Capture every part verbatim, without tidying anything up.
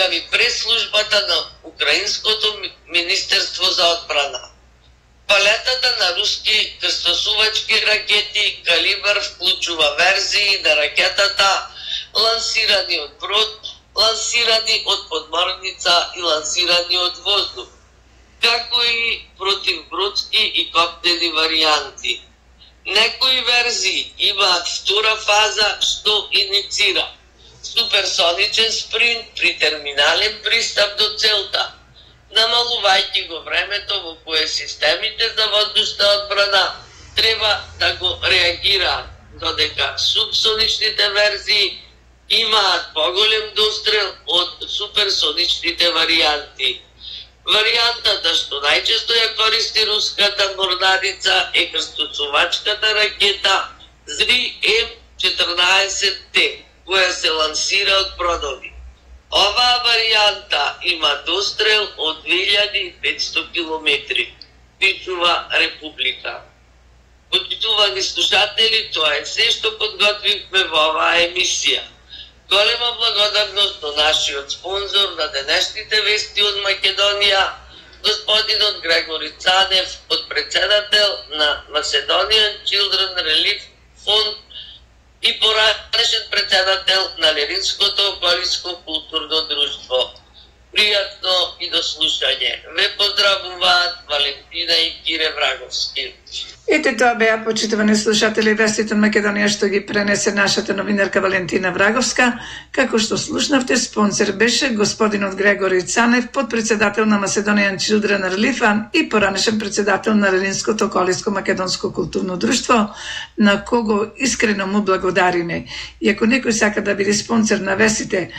изјави пресслужбата на Украинското Министерство за одбрана. Палетата на руски крстосувачки ракети калибар вклучува верзии на ракетата лансирани од брод, лансирани од подморница и лансирани од воздух, како и противбродски и коптени варијанти. Некои верзии имаат втора фаза што иницира суперсоничен спринт при терминален пристап до целта, намалувајќи го времето во кое системите за воздушна одбрана треба да го реагираат, додека субсоничните верзии имаат поголем дострел од суперсоничните варијанти. Варијантата што најчесто ја користи руската морнарица е крстосувачката ракета Зри М четрнаесет Т, која се лансира од бродови. Оваа варијанта има дострел од две илјади и петсто километри, пишува Република. Почитувани слушатели, тоа е се што подготвивме во оваа емисија. Голема благодарност на нашиот спонзор на денешните вести од Македонија, господинот Грегори Цанев, подпредседател на Macedonian Children Relief Fund и поранешен председател на Левинското околиско културно друштво. Пријатно и до слушање. Ве поздравуваат Валентина и Кире Враговски. Ете тоа беа, почитувани слушатели, вестите од Македонија што ги пренесе нашата новинарка Валентина Враговска. Како што слушнавте, спонсор беше господинот Грегори Цанев, подпредседател на Macedonian Children Relief Fund и поранешен председател на Левинското околиско македонско културно друштво, на кого искрено му благодариме. И ако некој сака да биде спонсор на вестите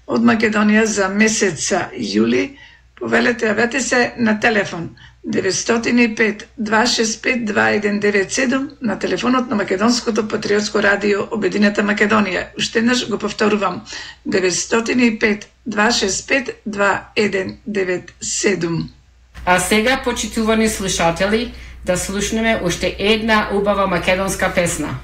од Македонија за месец јули, повелете, јавете се на телефон деветстотини и пет два шест пет два еден девет седум на телефонот на Македонското патриотско радио Обединета Македонија. Уште еднаш го повторувам, деветстотини и пет два шест пет два еден девет седум. А сега, почитувани слушатели, да слушнеме уште една убава македонска песна.